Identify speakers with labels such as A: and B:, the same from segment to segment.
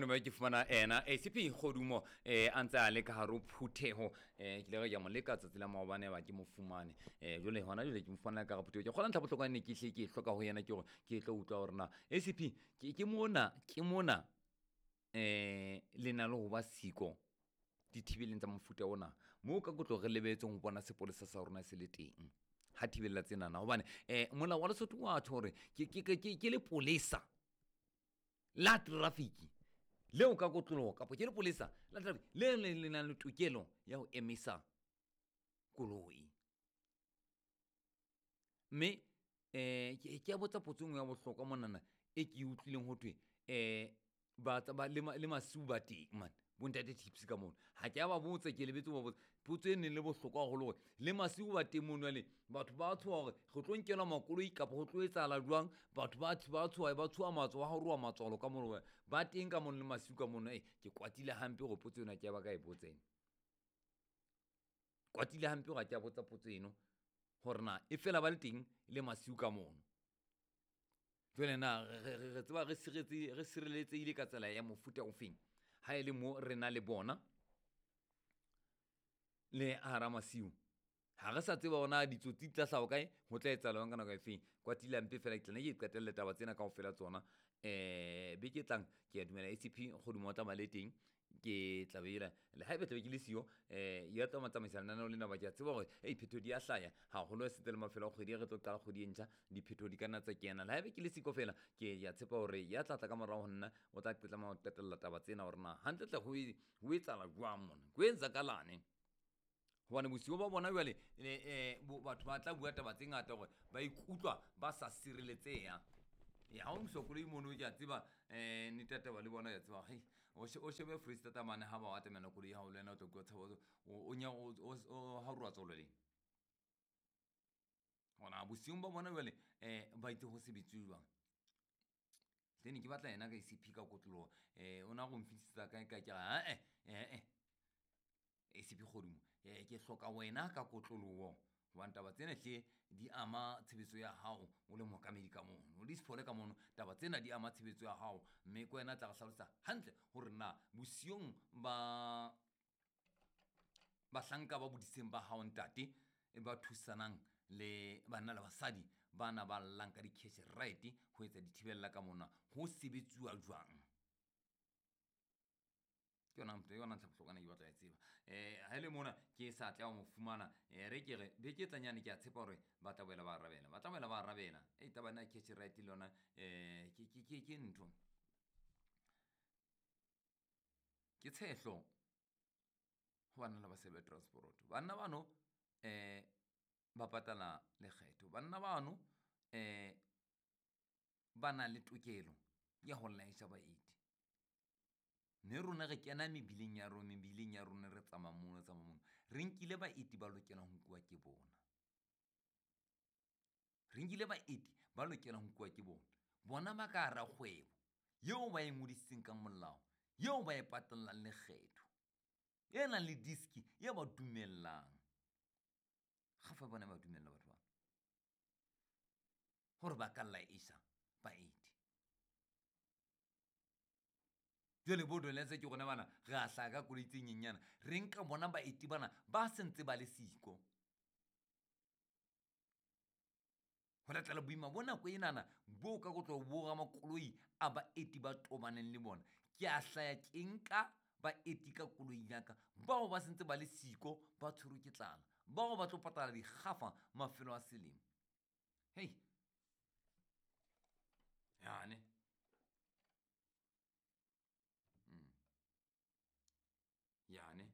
A: Mone ba ke fumana ena ACP Kgodumo a ntse a le ka hare ho phutheho. Ke ile ka mo leka tsatsi la maobane ba ke mo fumane. Jwale hona jwale ke mo fumana ka hare phutheho. Ke kgolwa ntlha bohlokwa ne ke hle ke e hloka ho yena ke hore ke tlo utlwa hore na ACP ke mona ke mona le na le ho ba siko dithibeleng tsa mofuta ona moo ka kotlo re lebetseng ho bona sepolesa sa rona se le teng ha thibella tsenana hobane molao wa Lesotho wa tjho hore ke lepolesa la traffic leo ka kotloloho kapa ke lepolesa la traffic le le nang le tokelo ya ho emisa koloi. Mme ke a botsa potso e nngwe ya bohlokwa monana e ke e utlwileng ho thwe ba ba le masiu ba teng mane bontate tips ka mono. Ha ke a ba botsa, ke lebetse ho ba botsa potso e neng le bohlokwa haholo hore le masiu ba teng mono. Jwale batho ba tshoha hore re tlo nkelwa makoloi kapa ho tlo etsahala jwang. Batho ba tshoha, ba tshoha matsoho, ba haroha matswalo ka mono, ba teng ka mono le masiu ka mono. Ke kwatile hampe hore potso ena ke ya ba ka e botsa ena. Kwatile hampe hore ha ke a botsa potso eno hore na e fela ba le teng le masiu ka mono. Jwale na re tseba re sireletsehile ka tsela ya mofuta ofeng ha e le mo re na le bona le hara masiu. Ha re sa tseba hore na ditsotsi di tla hlaha kae, ho tla etsahala jwang ka nako e feng. Kwatile hampe fela ke tla nne ke qetelle taba tsena kaofela tsona. Beke e tlang ke a dumela ACP Kgodumo o tla ba le teng. Ke tla be le haeba tlabe ke le siyo ya tla tsamaisa lenaneo lena ba ke a tseba hore ei phetho di a hlaya haholo setse le mafelo a kgwedi re tlo qala kgwedi e ntjha, diphetho di ka nna tsa kena. Le haeba ke le siko fela ke ya tshepa hore ya tla tla ka morao ho nna o tla tlameha ho qetella taba tsena hore na hantlentle ho etsahala jwang mona, ho etsakalane. Hobane bosigo ba bona jwale batho ba tla bua taba tse ngata hore ba ikutlwa ba sa sireletseha. Ha o misa koloi mono ke a tseba nnete ya taba le bona ke a tseba hei o shebe Foreisetata mane ha ba o atamela koloi ya hao le wena o tla utlwa tshabo o o haroha tswalo leng. Hona bosiung ba bona jwale ba itse ho sebetsuwe jwang. Hle ne ke batla yena ka ACP ka kotloloho o na go nfihlisetsa kae kae ke re ae ACP Kgodumo ke hloka wena ka kotloloho hobane taba tsena hle di ama tshebetso ya hao o le mookamedi ka mono, o le Sithole ka mono, taba tsena di ama tshebetso ya hao. Mme ke wena tla re hlalosa hantle hore na bosiung ba bahlanka ba bodiseng ba hao ntate ba thusanang le banna le basadi bana ba llang ka di-cash right ho etsa dithibella ka mona ho sebetsuwa jwang. Ke yona ntho, yona ntlha bohlokwa ne ke batla e tseba. Ha ile mona ke sa tla mo fumana re ke re beke e tlanyane ke a tshepa hore ba tla boela ba arabela, ba tla boela ba arabela. Taba ena cash right le yona ke ntho ke tshehlo ho banna le basadi ba transport. Banna bano ba patala lekgetho, banna bano ba na le tokelo ya ho laesha baeti. Mme rona re kena mebileng ya rona, mebileng ya rona re tsamaya mono, tsamaya mono. Re nkile baeti ba lokelang ho nkuwa ke bona. Re nkile baeti ba lokelang ho nkuwa ke bona. Bona ba ka hara kgwebo eo ba e ngodisitseng ka molao, eo ba e patallang lekgetho, e nang le diski e ba dumellang. Kgafa bona ba dumella batho ba hore ba ka laesha baeti. Jwale bo Doletse ke rona bana re a hlaha ka koloi tse nyenyana, re nka bona baeti bana ba sentse ba le siko. Ho latela boima bo nako enana bo ka kotlo bo ramakoloi a baeti ba tobaneng le bona. Ke a hlaya ke nka baeti ka koloi ya ka bao ba sentse ba le siko, ba tshwerwe ke tlala, bao ba tlo patala dikgafa mafelo a selemo. Hei yane yane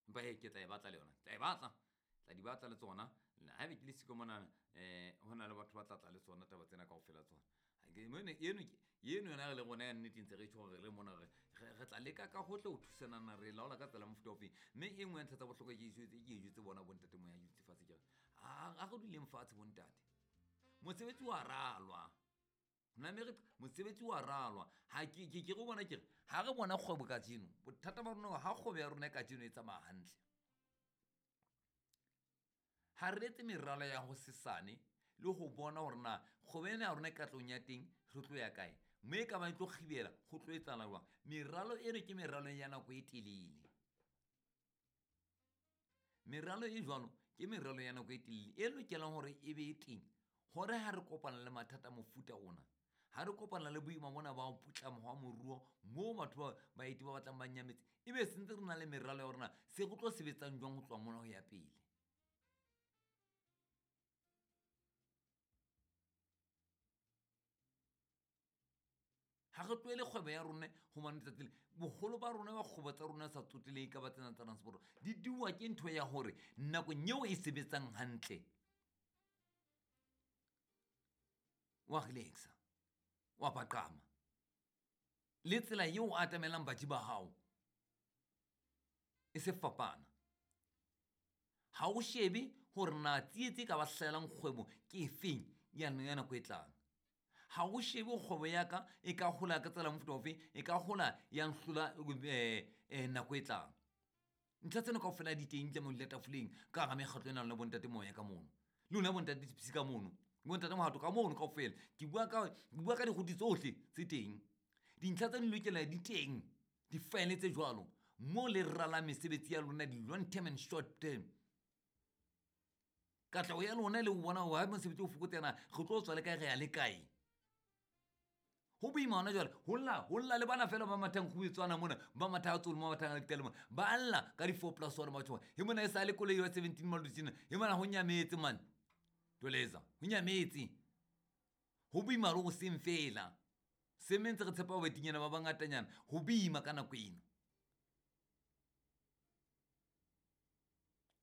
A: empa he ke tla e batla le yona, tla e batla, tla di batla le tsona. Haebe ke le siko monana ho na le batho ba tla tla le tsona taba tsena kaofela tsona. Eno yona re le rona ya nnete ntse re tjho hore re mona re tla leka ka hohle ho thusanana, re laola ka tsela mofuta ofeng. Mme e nngwe ya ntlha tsa bohlokwa ke e jwetse bona bontate moya dutse fatshe ke re a re duleng fatshe bontate, mosebetsi wa ralwa. Mosebetsi wa ralwa. Ha ke re bona ke re ha re bona kgwebo kajeno, bothata ba rona ha kgwebo ya rona kajeno e tsamaya hantle, ha re etse meralo ya ho sesane le go bona gore na kgwebo ena ya rona e katlong ya teng re tlo ya kae, mme e ka ba e tlo kgibela go tlo etsala jwang. Meralo eno ke meralo ya nako e telele. Meralo e jwalo ke meralo ya nako e telele e lokelang hore e be e teng hore ha re kopana le mathata mofuta ona, ha re kopana le boima bona ba ho putlama hwa moruo moo batho ba baeti ba batlang ba nyametse, ebe sentse re na le meralo ya hore na se re tlo sebetsang jwang ho tloha mona ho ya pele. Ha re tlohele kgwebo ya rona hobane letsatsi le boholo ba rona ba kgwebo tsa rona sa tsotelehe ka ba tsena tsa transport di diuwa ke ntho ya hore nakong eo e sebetsang hantle wa relaxa, wa paqama le tsela eo o atamelang batho ba hao e se fapana. Ha o shebe hore na tsietsi e ka ba hlahelang kgwebo ke efeng ya nako e tlang. Ha o shebe kgwebo ya ka e ka hola ka tsela mofuta ofe, e ka hola ya nhlola nako e tlang. Ntlha tsena kaofela di teng di tlameha ho dula tafoleng ka hara mekgatlo ena le bontate moya ka mono, le lona bontate Tipsy ka mono, bontate Mohato ka mono kaofela. Ke bua ka diruti tsohle tse teng. Dintlha tse di lokela di teng, di-file tse jwalo mo le ralang mesebetsi ya lona di-long term and short term. Katleho ya lona le ho bona hore ha mosebetsi o fokotseha re tlo tswa le kae, re ya le kae. Ho boima hona jwale, ho lla le bana fela ba mathang kgubetswana mona, ba matha a tsolo, ba mathang a ditale mona, ba lla ka di-4+1 batho ba. He mona e sa le koloi ya 17 malodi he mona ho nyametse man. Toleza, ho nyametse. Ho boima le ho seng fela. Se ntse re tshepa baetinyana ba bangatanyana, ho boima ka nako eno.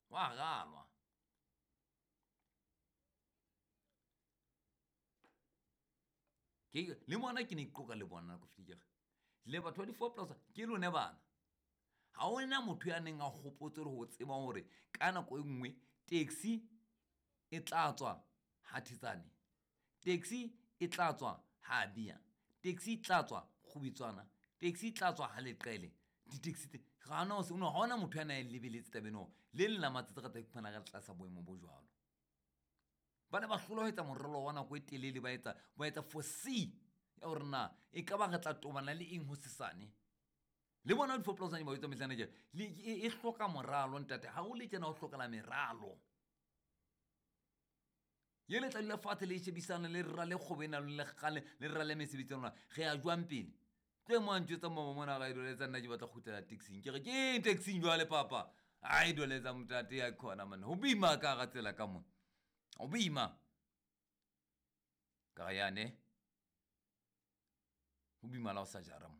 A: Wa ralwa. Ke le mona ke ne ke qoqa le bona nako fetile ke re le batho ba di-4+ ke lone bana. Ha hona motho ya neng a hopotse le ho tseba hore ka nako e nngwe taxi e tla tswa ha Thetsane, taxi e tla tswa ha Bia, taxi e tla tswa Kgubetswana, taxi e tla tswa ha Leqele. Di-taxi tse ha hona motho ya na e lebeletse taba eno. Le leng la matsatsi re tla iphumana re tlasa boemo bo jwalo. Ba ne ba hlola ho etsa moralo wa nako e telele, ba etsa foresee ya hore na e ka ba re tla tobana le eng hosesane. Le bona di-4+ ba etsa mehlana tje, e hloka moralo ntate. Ha o le tjena ho hlokala meralo. Ye le tla dula fatshe le shebisane le rale kgwebo ena le kgale le rale mesebetsi ya lona. Re ya jwang pele? Tlo mo a ntjwetsa mama mona ga e doletsa nna ke batla kgutlela taxing. Ke re ke eng taxing jwale papa? Ai doletsa motate ya khona man. Ho boima ka hara tsela ka mona. Ho boima. Ka ya ne. Ho boima la ho sa jara mo.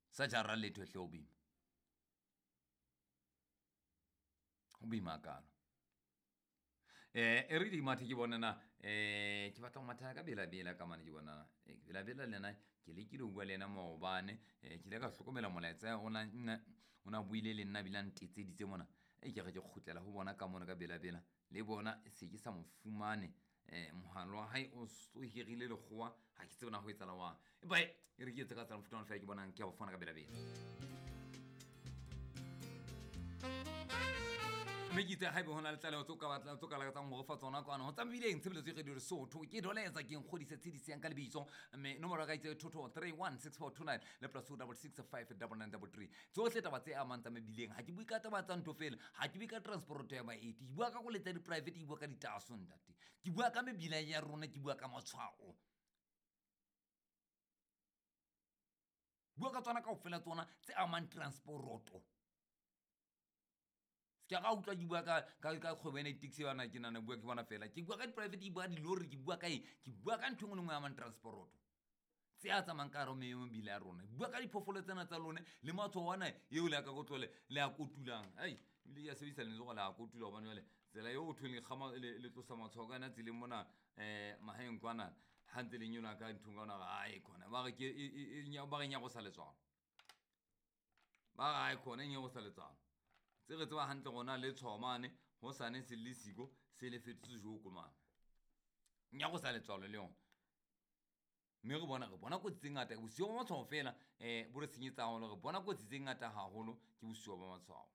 A: Sa jara letho hle ho boima. Ho boima kalo. E re di mathe ke bona na ke batla ho matha ka bela-bela ka mane ke bona bela-bela le yena ke lekile ho bua le yena maobane, ke ile ka hlokomela molaetsa o na buile le nna ebile a ntetseditse mona. Ke re ke kgutlela ho bona ka mona ka bela-bela le bona se ke sa mo fumane. Mohala wa hae o so hirile lekgowa, ha ke tsebe na ho etsahala jwang. Empa e re ke etse ka tsela mofuta ona fela ke bonang ke a bo fumana ka bela-bela. Mme ke itse haebe ho na le tlaleho tse o ka batlang, tse o ka lakatsang ho re fa tsona kwana ho tsamaileng tshebeletso e Radio Lesotho. Ke Doletsa ke nkgodise tshediseng ka lebitso, mme nomoro ya ka itse 22316429 le +266 59933. Tsohle taba tse amang tsa mebileng, ha ke bue ka taba tsa ntho fela, ha ke bue ka transport ya baeti, ke bua ka koloi tsa di-private, ke bua ka ditaso ntate, ke bua ka mebila ya rona, ke bua ka matshwao, bua ka tsona kaofela tsona tse amang transporoto. Ke ga utlwa ke bua ka kgwebo ena di-taxi bana ke nana bua ke bona fela, ke bua ka di-private, ke bua dilori, ke bua ka eng, ke bua ka ntho e nngwe le nngwe e amang transporoto tse a tsamayang ka hare ho mebila ya rona. Ke bua ka diphoofolo tsena tsa lone le matshwao ana eo le ya ka kotlole le a kotulang. Ai ebile ke a sebedisa lentswe gore le a kotula hobane jwale tsela eo ho thweng le kgama le tlosa matshwao ka yona tseleng mona mahaeng kwana ha ntse le nyola ka nthong ka ona ai khona ba re ke ba re nyarosa letswalo, ba re ai khona e nyarosa letswalo. Tse re tseba hantle rona le tshwao mane ho sane se le siko se le fetotse joko mane nyarosa letswalo le yona. Mme re bona kotsi tse ngata bosigo ba matshwao fela, bo re senyetsa haholo. Re bona kotsi tse ngata haholo ke bosigo ba matshwao.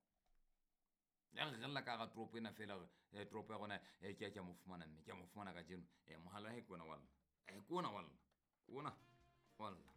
A: Ya re rella ka hara toropo ena feela hore toropo ya rona ke a mo fumana mme ke a mo fumana kajeno. Mohala wa hae ke ona wa lla. Ke ona wa lla. Ke ona wa lla.